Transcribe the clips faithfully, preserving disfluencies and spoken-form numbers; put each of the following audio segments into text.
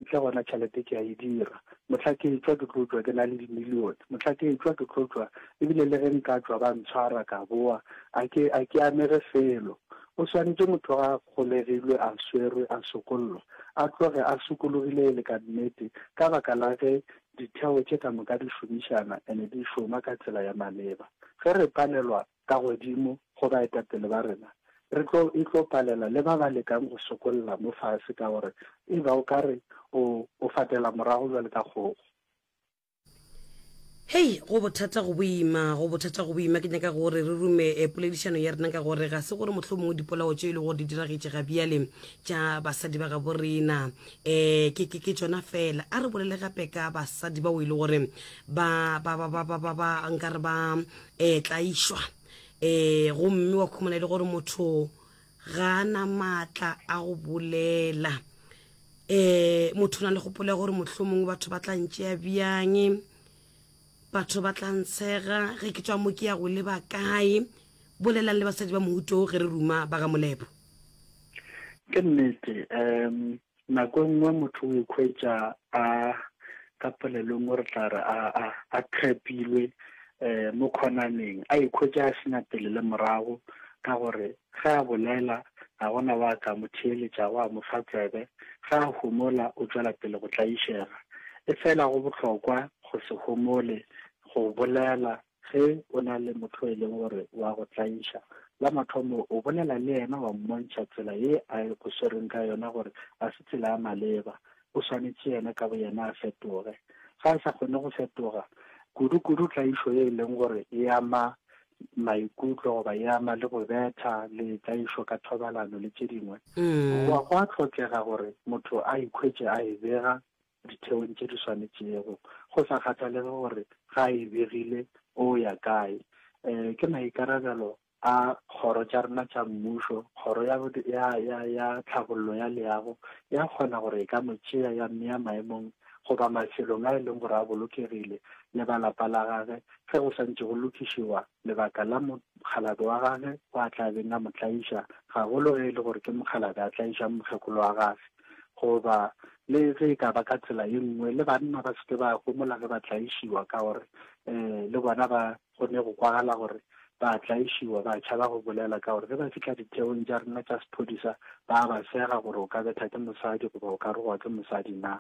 ntle gona tšhelete ke a e dira. Mohla ke etšwa ke tlo tšwa ke na le dimilione. Mohla ke etšwa ke tlo tšwa ebile le ge nka tšwa ba ntshwara ka boa a ke a ke amege felo. O swanetše motho ga a golegilwe a swerwe a sokollwa a tloge a sokologile e le ka nnete ka baka la ge ditheo tše ka moka di šomišana ene di šoma ka tsela ya maleba. Ge re palelwa ka godimo go baetapele ba rena, re tlo e tlo palela le ba ba lekang go sokolla mo fase ka gore e ba o ka re o o fatela morago bjale ka kgogo. Hei, go bothata go boima, go bothata go boima. Ke nyaka gore re rume eh, poledišano ya rena ka gore ga se gore mohlomongwe dipolao tše e le gore di diragetše ga bjale tša basadi ba gabo rena um ke ke ke tšona fela. A re bolele gape ka basadi bao e le gore ba ba ba ba ba ba ba nkare ba um tlaišwa um gomme wa khumana e le gore motho ga a na maatla a go bolela. Um motho o na le kgopolo ya gore mohlomongwe batho ba tla ntšea bjang, batho ba tla ntshega ge ke tswa mo ke ya go leba kae. Bolelang le basadi ba mohuto ge re ruma ba ga Molepo. Ke nnete, um nako e nngwe motho o ikhwetša a ka polelo e nngwe re tla re a a a trapilwe um mo khonaneng, a ikhwetša a sena pele le morago ka gore ge a bolela ga gona wa ka mo theeletšago a mo fa tsebe, ge a homola o tšwela pele go tlaišega. E fela go bohlokwa go se homole go bolela ge o na le motho e leng gore wa go tlaiša. La mathomo o bolela le yena wa mmontšha tsela ye a go swereng ka yona gore ga se tsela ya maleba, o swanetše yena ka boyena a fetoge. Ga a sa kgone go fetoga, kudu-kudu tlaišo ye e leng gore e ama maikutlo goba e ama le go betha le tlaišo ka thobalano le tše dingwe, Mm. go a hlokega gore motho a ikhwetše a e bega ditheong tše di swanetšego, go sa kgathalege gore ga a e begile o ya kae. Um ke maikarabelo a kgoro tša rena tša mmušo, kgoro ya, ya, ya, ya tlhabollo ya leago ya kgona gore e ka mo tšea ya mmea maemong goba mafelong a e leng gore a bolokegile le ba lapa la gage ge go santše go lokišiwa lebaka la mokgalabje wa gage o a tla beng a mo tlaiša, gagolo ge e le gore ke mokgalabje a tlaišang mokgekolo wa gage, goba le ge e ka ba ka tsela ye nngwe. Le banna ba seke ba homola ge ba tlaišiwa ka gore um le bona ba go ne go kwagala gore ba tlaišiwa, ba tšhaba go bolela ka gore ge ba fihla ditheong tša rena tša sephodisa ba ba sega gore o ka betha ke mosadi goba o ka rogwa ke mosadi na.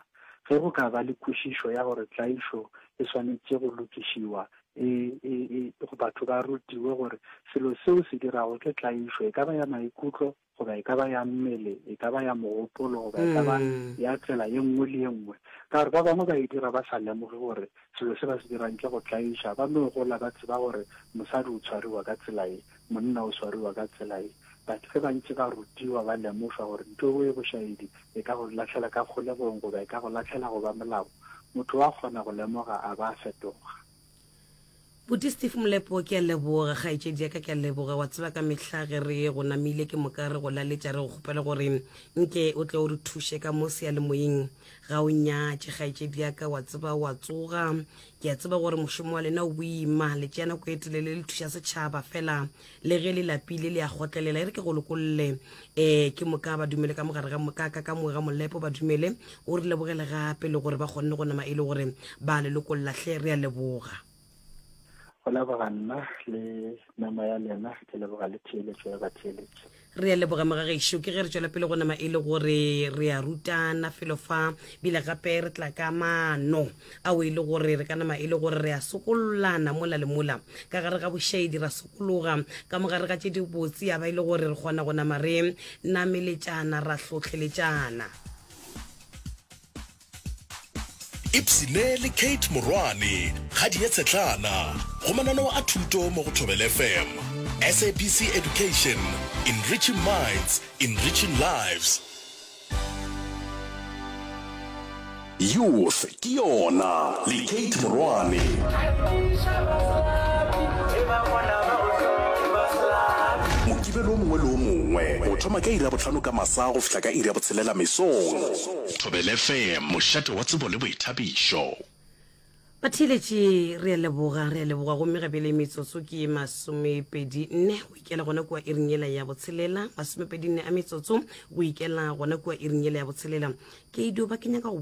Ge go ka ba le kwešišo ya gore tlaišo e swanetše go lokišiwa, e, e, e, batho ba rutiwe gore selo seo se dirago ke tlaišo, e ka ba ya maikutlo goba e ka ba ya mmele, e ka ba ya mogopolo goba e ka ba Mm. ya tsela ye nngwe le ye nngwe. Ka gore ba bangwe ba e dira ba sa lemoge gore selo se ba se dirang ke go tlaiša, ba no gola ba tseba gore mosadi o tshwariwa ka tsela ye, monna o swariwa ka tsela ye. But ge ba ntše ba rutiwa ba lemošwa gore ntho e bošaedi e ka go lahlela ka kgolegong goba e ka go lahlela go ba molao, motho wa kgona go lemoga a ba a fetoga. Buti Steve Molepo, ke a leboga kgaetšedi ya ka, ke a leboga. Wa tseba ka mehla ge re go namile ke moka re go laletša re go kgopela gore nke o tle o re thuše ka mo seyalemoyeng, ga o nyatše kgaetšedi ya ka. Wa tseba wa tsoga, ke a tseba gore mošomo wa lena o boima, le tšea nako e telele le thuša setšhaba, fela le ge le lapile le a kgotlelela. E re ke go lokolle um ke moka ba dumele ka mogare ga ka ka ka mo ga Molepo, ba dumele o re lebogele gape le gore ba kgonne go nama e le gore ba le lokolla hle. Re a leboga. Go leboga nna le memo ya lena, ke leboga le theeletšo ya batheeletši. Re a leboga mogagešo. Ke ge re tšwela pele go nama e le gore re a rutana felo fa, bile gape re tla ka mano ao e le gore re ka nama e le gore re a sokollana mola le mola ka gare ga bošaedi, ra sokologa ka mogare ga tše dibotse, ya ba e le gore re kgona go nama re nameletšana ra hlohleletšana. Ipsine le Kate Morwane ga di ye tshetlana go mananeo a thuto mo go Thobela F M. S A B C Education, enriching minds, enriching lives. Youth ke yona le Kate Morwane. Mokibelo o mongwe le o mongwe go thoma ka iri ya bohlano ka masa go fihla ka iri ya botshelela mesong. Thobela F M, mošate wa tsebo le boithabišo. Batheeletši, re a leboga, re a leboga. Gomme gabele metsotso ke masomepedi nne go ikela gona kua iring yela ya botshelela, masomepedi nne a metsotso go ikela gona kua iring yela ya botshelela. Ke dio ba ke nyaka go